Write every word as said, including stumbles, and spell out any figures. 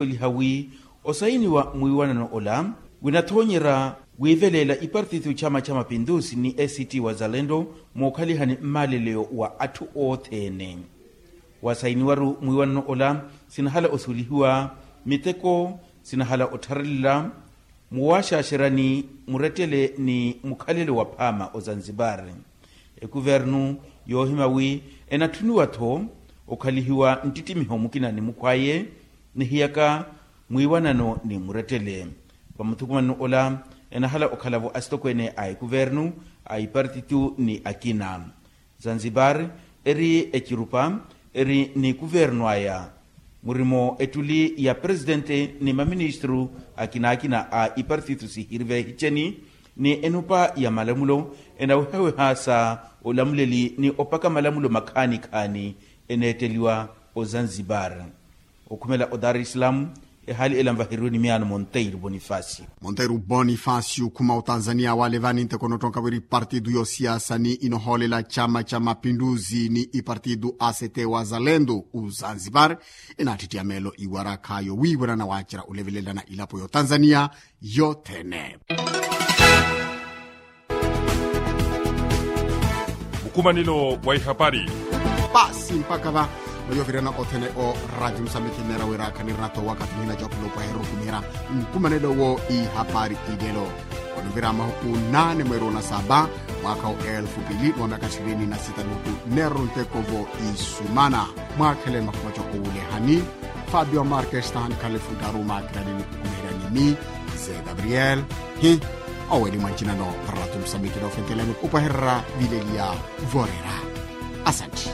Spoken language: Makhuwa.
eliha wi osayiniwa mwiiwanano ola winathoonyerya wiiveleela ipartito chama cha mapindusi ni act wazalendo mookhalihani mmaleleyo wa atthu othene. Wasayiniwaru mwiiwanano ola sinahala osulihiwa miteko sinahala ottharelela muwaxaxerani murettele ni mukhalelo wa phaama ozanzipari. Ekuvernu yoohima wi enatthuniwa-tho okhalihiwa nttittimiho mukina ni mukhw'aye nihiyaka mwiiwanano ni murettele. Vamuthukumanino ola enahala okhala-vo asitokweene a ekuvernu a ipartitu ni akina. Zanzibar eri ecirupa eri ni kuvernu aya murimo ettuli ya presitente ni maministru akinaakina a ipartitu sihiri veehiceni ni enupa ya malamulo enawehaweha sa olamuleli ni opaka malamulo makhaani-khaani eneetteliwa ozanzibar. Okhumela odar islam ehaali ela nvaheriwe ni miyaano monteiro bonifacio. Monteiro bonifacio okhuma otanzania wale vani nteko nottonka wiri partidu yosiasa ni inohoolela chama cha mapinduzi ni ipartidu act wazalendo ozanzibar enaattittiya meelo iwarakha yowiiwanana waacerya olevelelana ilapo yotanzania yothene. Mukumanelo wa ihapari. Paasi mpakha va mwayovirana othene o radio musambiki nneera wira khanirina-tho waka tihina jopilo kwaherukumira nkumanelo wo ihapari ilelo. Onuvira mahuku nane mweeri onasaba mwaakha wa elfu pili ni wa myaka ishirini na sita nuku nneeruru nteko vo isumana. Mwaakhele makhuma jopowulehani fabio markestan khalifu ntaru maakirani ni kukumiherya ni mi ze gabriel hi oweli mwancinano. Ratu musamikina ofentelani opwahererya vileliya vorera. Asanti.